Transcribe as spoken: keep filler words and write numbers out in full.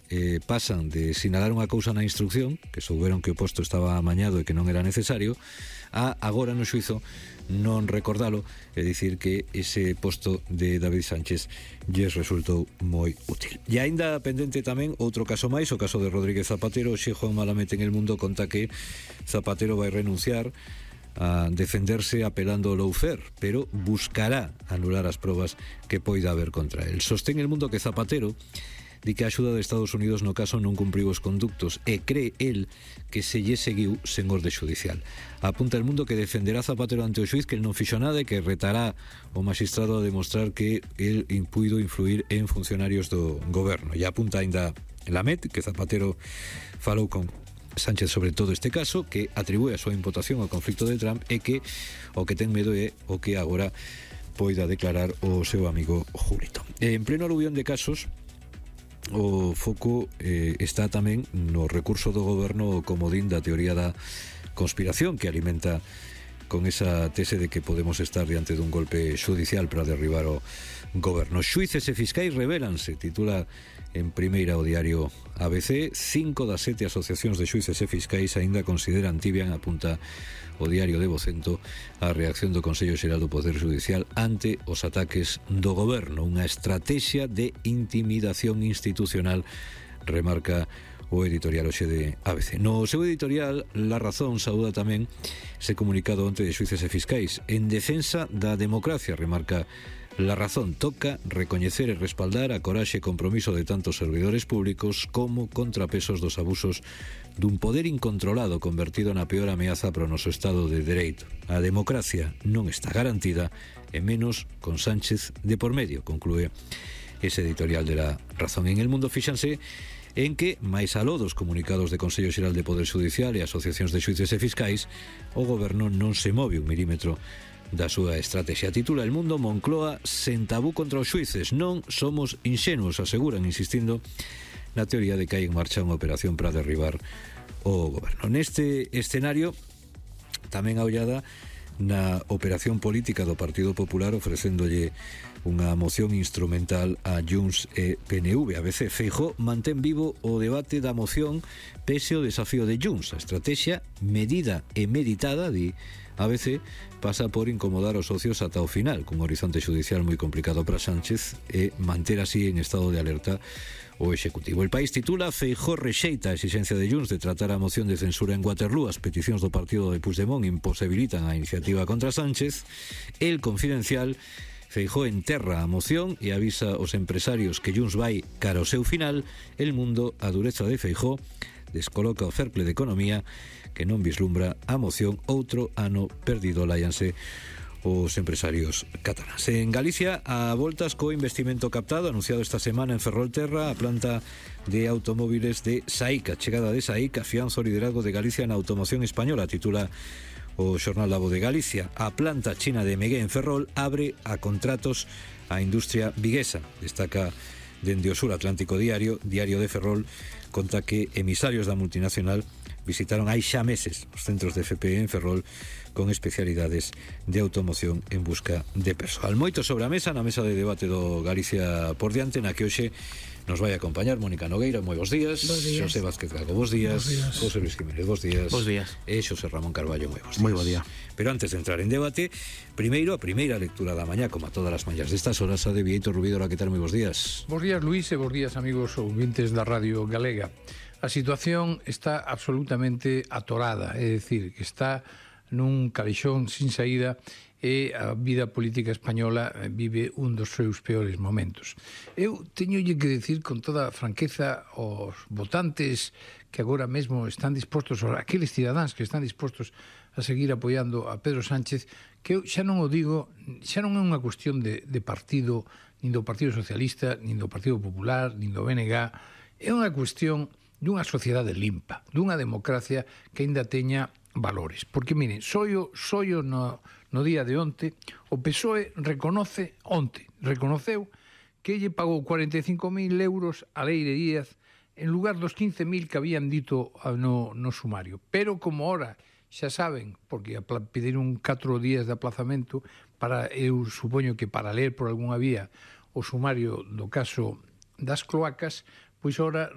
eh, pasan de sinalar unha cousa na instrucción, que souberon que o posto estaba amañado e que non era necesario, a agora no xuizo non recordalo, é dicir que ese posto de David Sánchez lles resultou moi útil. E aínda pendente tamén outro caso máis, o caso de Rodríguez Zapatero. Xe Juan Malamete en El Mundo conta que Zapatero vai renunciar a defenderse apelando ao lawfare, pero buscará anular as probas que poida haber contra el. Sostén El Mundo que Zapatero di que a axuda de Estados Unidos no caso non cumpriu os conductos e cree el que se lle seguiu sen orde judicial. Apunta El Mundo que defenderá Zapatero ante o xuiz, que el non fixo nada e que retará o magistrado a demostrar que el impuido influir en funcionarios do goberno. E apunta ainda la Met que Zapatero falou con Sánchez sobre todo este caso, que atribúe a súa imputación ao conflicto de Trump e que o que ten medo é o que agora poida declarar o seu amigo Julito. En pleno aluvión de casos, o foco eh, está tamén no recurso do goberno comodín da teoría da conspiración, que alimenta con esa tese de que podemos estar diante dun golpe judicial para derribar o goberno. Xuíces e fiscais revélanse, titula en primeira o diario A B C. Cinco das sete asociacións de xuíces e fiscais aínda consideran tibia, apunta o diario de Vocento, a reacción do Consello Xeral do Poder Judicial ante os ataques do goberno, unha estrategia de intimidación institucional, remarca o editorial hoxe de A B C. No seu editorial, La Razón saúda tamén ese comunicado onte de xuíces e fiscais en defensa da democracia, remarca La Razón. Toca recoñecer e respaldar a coraxe e compromiso de tantos servidores públicos como contrapesos dos abusos dun poder incontrolado convertido na peor ameaza para o noso Estado de Dereito. A democracia non está garantida, e menos con Sánchez de por medio, conclúe ese editorial de La Razón. En El Mundo fíxanse en que, máis aló dos comunicados de Consello Xeral de Poder Judicial e asociacións de xuíces e fiscais, o goberno non se move un milímetro da súa estrategia. Titula El Mundo: Moncloa sen tabú contra os xuíces. Non somos inxenuos, aseguran, insistindo na teoría de que hai en marcha unha operación para derribar o goberno. Neste escenario, tamén a ollada na operación política do Partido Popular, ofrecéndolle unha moción instrumental a Junts e P N V. A B C. Feijóo mantén vivo o debate da moción pese o desafío de Junts. A estrategia medida e meditada, di A B C, pasa por incomodar os socios ata o final, cun horizonte judicial moi complicado para Sánchez, e manter así en estado de alerta o Executivo. El País titula: Feijóo rexeita a exigencia de Junts de tratar a moción de censura en Waterloo. As peticións do partido de Puigdemont imposibilitan a iniciativa contra Sánchez. El Confidencial: Feijóo enterra a moción e avisa aos empresarios que Junts vai cara ao seu final. El Mundo: a dureza de Feijóo descoloca o cercle de economía, que non vislumbra a moción outro ano perdido, láianse os empresarios cataláns. En Galicia, a voltas co investimento captado anunciado esta semana en Ferrolterra, a planta de automóviles de SAIC. A chegada de SAIC afianza o liderazgo de Galicia na automoción española, titula o xornal La Voz de Galicia. A planta china de Megué en Ferrol abre a contratos á industria viguesa. Destaca dende o Sur Atlántico Diario, Diario de Ferrol, conta que emisarios da multinacional visitaron hai xa meses os centros de F P E en Ferrol con especialidades de automoción en busca de persoal. Moito sobre a mesa, na mesa de debate do Galicia por diante, na que hoxe nos vai acompañar Mónica Nogueira, moi bons días. Bos días. Xosé Vázquez Gago, bos días. días. José Luis Jiménez, bos días. Bos días. E Xosé Ramón Carballo, moi bos días. Moi bo día. Pero antes de entrar en debate, primeiro a primeira lectura da mañá, como a todas as mañás destas horas, a de Vieito Rubidora. Que tal, moi bos días? Bos días, Luís, e bos días, amigos ouvintes da Radio Galega. A situación está absolutamente atorada, é dicir, que está nun calexón sin saída, e a vida política española vive un dos seus peores momentos. Eu teñolle que decir con toda franqueza aos votantes que agora mesmo están dispostos, aqueles cidadáns que están dispostos a seguir apoiando a Pedro Sánchez, que eu xa non o digo, xa non é unha cuestión de, de partido, nin do Partido Socialista, nin do Partido Popular, nin do B N G, é unha cuestión dunha sociedade limpa, dunha democracia que aínda teña valores. Porque, miren, soio, soio no, no día de onte, o P S O E reconoce, onte, reconoceu que lle pagou cuarenta e cinco mil euros a Leire Díaz en lugar dos quince mil que habían dito no, no sumario. Pero como ora xa saben, porque pediron catro días de aplazamento para, eu supoño que para ler por algunha vía o sumario do caso das cloacas, pois ora